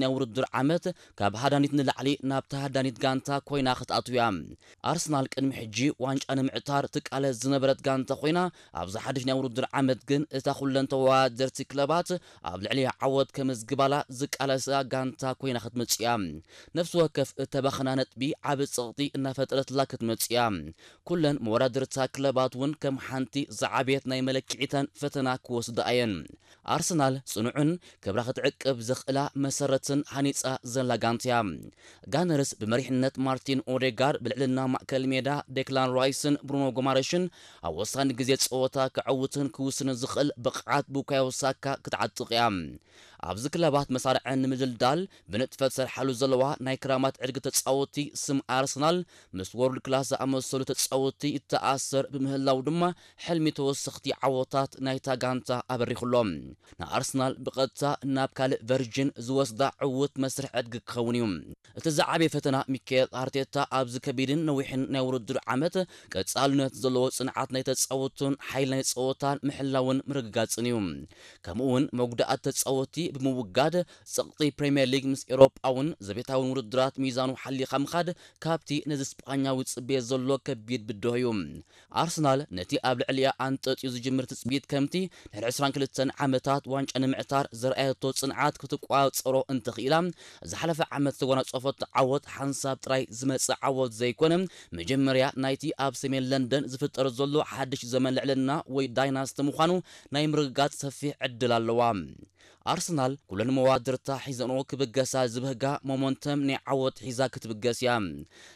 ናይ ውድድር ዓመት ካብ ሃዳኒት ንላዕሊ ናብ ተሃዳኒት ጋንታ ኮይና ክትኣትው እያ። ኣርሰናል ቅድሚ ሕጂ ዋንጫ ንምዕታር ትቃለስ ዝነበረት ጋንታ ኮይና፣ ኣብዚ ሓድሽ ናይ ውድድር ዓመት ግን እታ ኩለን ተወዳደርቲ ክለባት ኣብ ልዕሊኣ ዓወት ከመዝግባላ ዝቃለሳ ጋንታ ኮይና ክትመጽእ እያ። ነፍሲ ወከፍ እተባኸና ነጥቢ ዓቢ ጸቕጢ እናፈጠረትላ ክትመጽእ እያ። ኩለን መወዳድርታ ክለባት እውን ከም ሓንቲ ዝዓበየት ናይ መለክዒተን ፈተና ክወስዳ እየን። ኣርሰናል ጽኑዕን ክብራ ክትዕቅብ ዘኽእላ መሰረትን ሃኒጻ ዘላ ጋንታ እያ። ጋነርስ ብመሪሕነት ማርቲን ኦዴጋርድ ብልዕልና ማእከል ሜዳ ዴክላን ራይስን ብሩኖ ጎማረሽን ኣብ ወሳኒ ግዜ ጸወታ ክዕውትን ክውስንን ዝኽእል ብቕዓት ቡካዮ ሳካ ክትዓጥቕ እያ። ኣብዚ ክለባት መሳርዐን ንምድልዳል ብንጥፈት ሰርሓሉ ዘለዋ ናይ ክራማት ዕድጊ ተጻወቲ ስም ኣርሰናል ምስ ወርልድ ክላስ ዝኣመሰሉ ተጻወቲ ይተኣሰር ብምህላው ድማ ሕልሚ ተወሰኽቲ ዓወታት ናይታ ጋንታ ኣበሪኹሎም። ንኣርሰናል ብቐጥታ ናብ ካልእ ቨርጅን ዝወስዳ ዕዉት መስርሕ ዕድጊ ክኸውን እዩ። እቲ ዝዓበየ ፈተና ሚካኤል ኣርቴታ ኣብዚ ከቢድን ነዊሕን ናይ ውድድር ዓመት ቀጻልነት ዘለዎ ጽንዓት ናይ ተጻወቱን ሓይል ናይ ጸወታን ምሕላውን ምርግጋጽን እዩ። ከምኡ እውን መጉዳኣት ተጻወቲ ብምውጋድ ጸቕጢ ፕሪምየር ሊግ ምስ ኤውሮጳውን ዘቤታውን ውድድራት ሚዛኑ ሓሊኻ ምኻድ ካብቲ ነዚ ስጳኛዊ ጽቤ ዘሎ ከቢድ ብድሆ እዩ። ኣርሰናል ነቲ ኣብ ልዕሊኣ ኣንጠጥዩ ዝጅምር ትጽቢት ከምቲ ድሕሪ ዕስራን ክልተን ዓመታት ዋንጫ ንምዕታር ዘርኣየቶ ጽንዓት ክትቋጸሮ እንተኽኢላ፣ ዝሓለፈ ዓመት ዝተጎናጸፈቶ ዓወት ሓንሳብ ጥራይ ዝመጽእ ዓወት ዘይኮነ፣ መጀመርያ ናይቲ ኣብ ሰሜን ለንደን ዝፍጠር ዘሎ ሓድሽ ዘመን ልዕልና ወይ ዳይናስቲ ምዃኑ ናይ ምርግጋጽ ሰፊሕ ዕድል ኣለዋ። ኣርሰናል ኩለን መዋድርታ ሒዘንኦ ክብገሳ ዝብህጋ ሞመንተም ናይ ዓወት ሒዛ ክትብገስ እያ።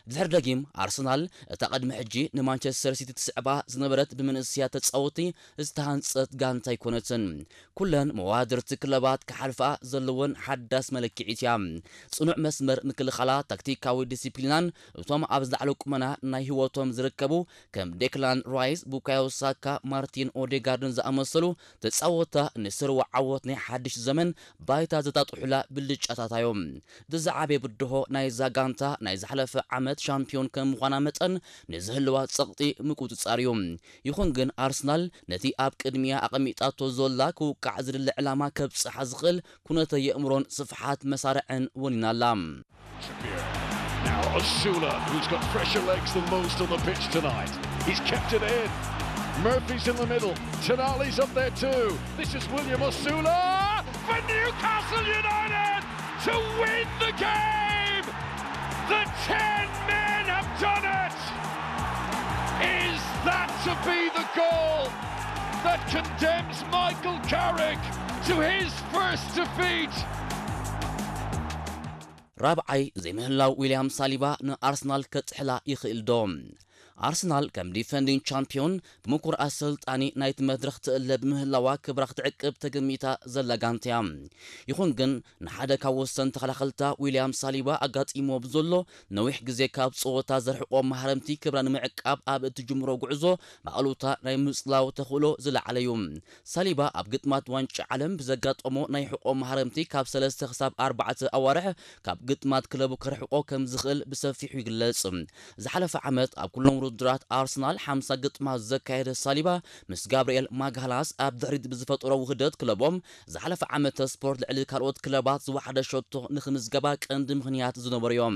ድሕሪ ደጊም ኣርሰናል እታ ቅድሚ ሕጂ ንማንቸስተር ሲቲ ትስዕባ ዝነበረት ብምንእስያ ተጻወቲ ዝተሃንጸት ጋንታ ኣይኮነትን። ኩለን መዋድርቲ ክለባት ክሓልፋ ዘለወን ሓዳስ መለክዒት እያ። ጽኑዕ መስመር ምክልኻላ፣ ታክቲካዊ ዲሲፕሊናን እቶም ኣብ ዝለዓለ ቁመና ናይ ህይወቶም ዝርከቡ ከም ዴክላን ራይስ፣ ቡካዮ ሳካ፣ ማርቲን ኦዴጋርድን ዝኣመሰሉ ተጻወታ ንስርዋ ዓወት ናይ ሓድሽ ዘመን ባይታ ዘጣጥሑላ ብልጫታት እዮም። እቲ ዝዓበየ ብድሆ ናይዛ ጋንታ ናይ ዝሓለፈ ዓመት ሻምፒዮን ከም ምዃና መጠን ንዝህልዋ ጸቕጢ ምቁጽጻር እዩ። ይኹን ግን ኣርሰናል ነቲ ኣብ ቅድሚያ ኣቐሚጣቶ ዘላ ክውቃዕ ዝድለ ዕላማ ከብጽሓ ዝኽእል ኩነተ የእምሮን ስፍሓት መሳርዕን ወኒና ኣላ። Now Osula, who's got fresher legs than most on the pitch tonight. He's kept it in. Murphy's in the middle. Tonali's up there too. This is William Osula for Newcastle United to win the game. The ten men have done it. Is that to be the goal that condemns Michael Carrick to his first defeat? ራብዓይ ዘይምህላው ዊልያም ሳሊባ ንኣርሰናል ከጥሕላ ይኽእል ዶ? ኣርሰናል ከም ዲፈንዲንግ ቻምፒዮን ብምኩር ኣሰልጣኒ ናይቲ መድረኽ ትእለ ብምህላዋ ክብራ ክትዕቅብ ተገሚታ ዘላ ጋንታ እያ። ይኹን ግን ንሓደ ካብ ወሰን ተኸላኸልታ ዊልያም ሳሊባ ኣጋጢሞ ብዘሎ ነዊሕ ግዜ ካብ ጸወታ ዘርሕቆ ማህረምቲ ክብራ ንምዕቃብ ኣብ እትጅምሮ ጉዕዞ ብኣሉታ ናይ ምጽላው ተኽእሎ ዝለዓለ እዩ። ሳሊባ ኣብ ግጥማት ዋንጫ ዓለም ብዘጋጠሞ ናይ ሕቆ ማህረምቲ ካብ ሰለስተ ክሳብ ኣርባዕተ ኣዋርሕ ካብ ግጥማት ክለቡ ከርሕቆ ከም ዝኽእል ብሰፊሑ ይግለጽ። ዝሓለፈ ዓመት ኣብ ኩሎም ውድድራት ኣርሰናል ሓምሳ ግጥማት ዘካየደ ሳሊባ ምስ ጋብርኤል ማግሃላስ ኣብ ድሕሪት ብዝፈጠሮ ውህደት ክለቦም ዝሓለፈ ዓመት ስፖርት ልዕሊ ካልኦት ክለባት ዝወሓደ ሸቶ ንኽምዝገባ ቀንዲ ምኽንያት ዝነበሩ እዮም።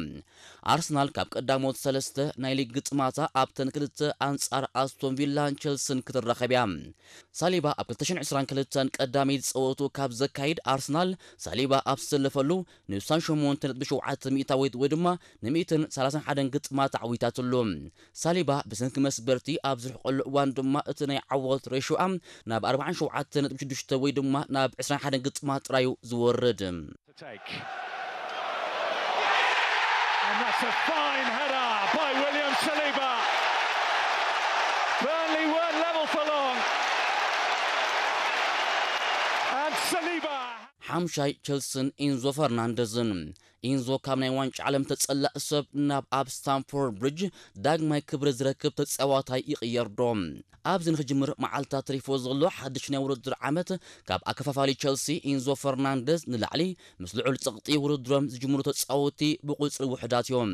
ኣርሰናል ካብ ቀዳሞት ሰለስተ ናይ ሊግ ግጥማታ ኣብተን ክልተ ኣንጻር ኣስቶን ቪላን ቸልስን ክትራኸብ እያ። ሳሊባ ኣብ ክልተ ሽሕን ዕስራን ክልተን ቀዳመይቲ ጸወቱ ካብ ዘካይድ ኣርሰናል ሳሊባ ኣብ ዝተሰለፈሉ ንሳን ሸሞንተ ነጥቢ ሸውዓተ ሚእታዊት ወይ ድማ ንሚእትን ሰላሳን ሓደን ግጥማት ኣዕዊታትሉ። ሳሊባ ብሰንኪ መስበርቲ ኣብ ዝርሕቀሉ እዋን ድማ እቲ ናይ ዓወት ሬሽዮኣ ናብ ኣርባዓን ሸውዓተ ነጥቢ ሽዱሽተ ወይ ድማ ናብ ዕስራን ሓደን ግጥማት ጥራዩ ዝወርድ። to take. And that's a fine header by William Saliba. Burnley weren't level for long. And Saliba. ሓምሻይ ቸልስን ኢንዞ ፈርናንደዝን። ኢንዞ ካብ ናይ ዋንጫ ዓለም ተጸላእ ሰብ ናብ ኣብ ስታንፎርድ ብሪጅ ዳግማይ ክብሪ ዝረክብ ተጻዋታይ ይቕየር ዶ? ኣብዚ ንኽጅምር መዓልታት ተሪፎ ዘሎ ሓድሽ ናይ ውድድር ዓመት ካብ ኣከፋፋሊ ቸልሲ ኢንዞ ፈርናንደዝ ንላዕሊ ምስ ልዑል ጸቕጢ ውድድሮም ዝጅምሩ ተጻወቲ ብቁጽሪ ውሑዳት እዮም።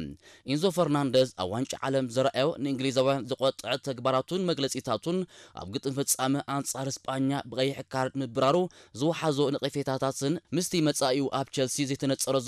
ኢንዞ ፈርናንደዝ ኣብ ዋንጫ ዓለም ዘርኣዮ ንእንግሊዛውያን ዘቆጥዐ ተግባራቱን መግለጺታቱን ኣብ ግጥም ፍጻመ ኣንጻር ስጳኛ ብቐይሕ ካርድ ምብራሩ ዝወሓዞ ነቐፌታታትን ምስቲ መጻኢኡ ኣብ ቸልሲ ዘይተነጸረ